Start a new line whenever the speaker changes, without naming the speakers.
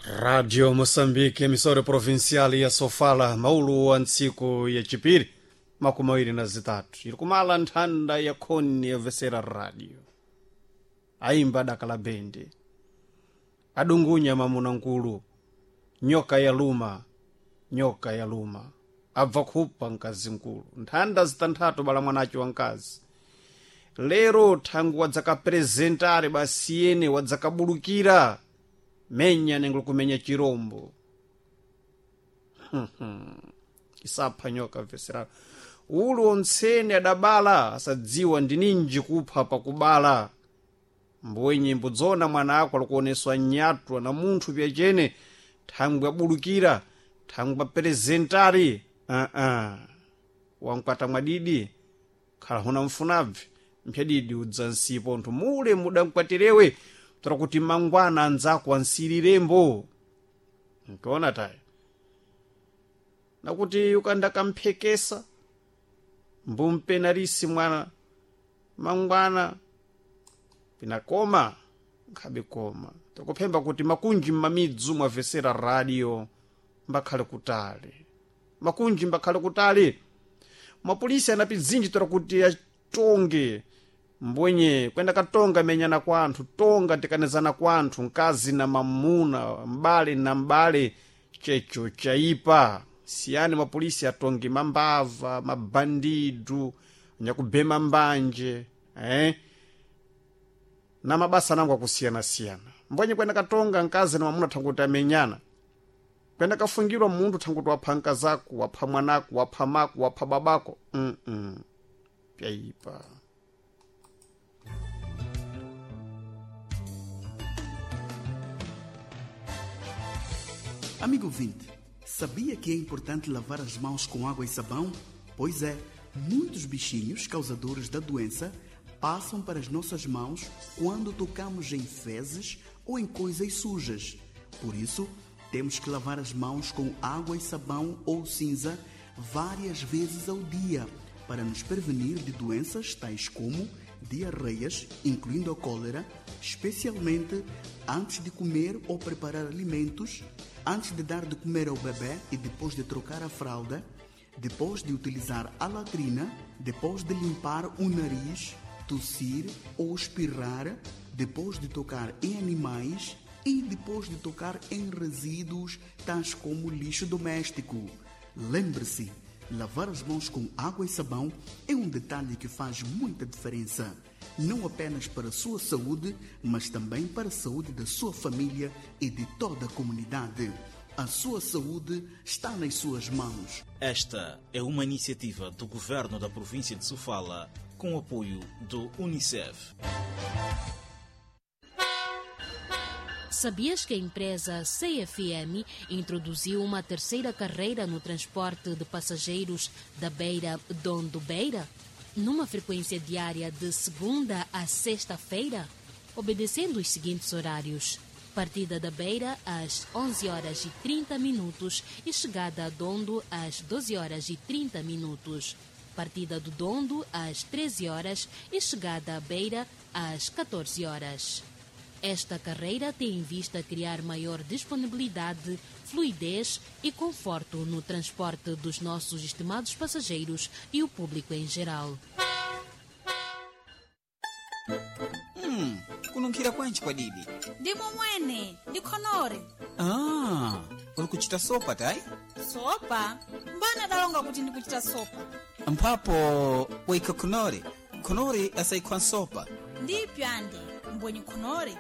Radio Moçambique, emissora provincial ya Sofala, maulu wa ntsiku ya chipiri 23, iri kumala nthanda ya khoni yabvesera radio. Aimba dakala bende, adungunya mamuna nkulu, nyoka ya luma, nyoka ya luma, abva khupa mkazi nkulu, nthanda zitanthatu bala mwanacho wa mkazi. Lero thangu wadzakaprezentare basi yene wadzakabulukira menya nengolo kumenya chirombo. Isapha nyoka mveserano ulu ontsene adabala asadziwa ndininji kupha pakubala. Mbwenye mbudzona mwana ako alikuoneswa nyatwa na munthu pyachene, thangwi abulukira, thangwi aprezentari. Wankwata mwadidi khala huna mfunabvi mphyadidi udza nsipo nthu mule mudamkwatirewe tora kuti mangwana anzako ansiriремbo. Nkiona tayo nakuti ukandakamphekesa mbumpenarisi mwana mangwana pinakoma nkhabe koma. Takuphemba kuti makunji mmamidzu mwavesera radio mbakhale kutali, makunji mbakhale kutali. Mapolisi anapidzinji tora kuti atonge mbwenye kwenda katonga menyana kwa anthu, tonga tikanizana kwa anthu, mkazi na mamuna, mbale na mbale, checho chaipa. Siyani mapolisi atonge mambava, mabandidu, anyakubhema mbanje, na mabasa nangu akusiyana-siyana. Mbwenye kwenda katonga mkazi na mamuna thanguti amenyana, kwenda kafungirwa munthu thanguti wapha mkazako, wapha mwanako, wapha mako, wapha babako. Pyaipa.
Amigo ouvinte, sabia que é importante lavar as mãos com água e sabão? Pois é, muitos bichinhos causadores da doença passam para as nossas mãos quando tocamos em fezes ou em coisas sujas. Por isso, temos que lavar as mãos com água e sabão ou cinza várias vezes ao dia para nos prevenir de doenças tais como diarreias, incluindo a cólera, especialmente antes de comer ou preparar alimentos, antes de dar de comer ao bebê e depois de trocar a fralda, depois de utilizar a latrina, depois de limpar o nariz, tossir ou espirrar, depois de tocar em animais e depois de tocar em resíduos tais como lixo doméstico. Lembre-se, lavar as mãos com água e sabão é um detalhe que faz muita diferença, não apenas para a sua saúde, mas também para a saúde da sua família e de toda a comunidade. A sua saúde está nas suas mãos.
Esta é uma iniciativa do governo da província de Sofala, com o apoio do Unicef.
Sabias que a empresa CFM introduziu uma terceira carreira no transporte de passageiros da Beira Dondo Beira? Numa frequência diária de segunda a sexta-feira, obedecendo os seguintes horários: partida da Beira às 11 horas e 30 minutos e chegada a Dondo às 12 horas e 30 minutos. Partida do Dondo às 13 horas e chegada à Beira às 14 horas. Esta carreira tem em vista criar maior disponibilidade, fluidez e conforto no transporte dos nossos estimados passageiros e o público em geral.
Kununkhira kwanji kwadidi?
Ndimo mwene, ndikhonore.
Uli kuchita sopa tayi?
Sopa? Mbana dalonga kuti ndikuchita sopa.
Mphapo waikha khonore, khonore asayikhwa nsopa.
Ndipyo ande, mbwenye khonore.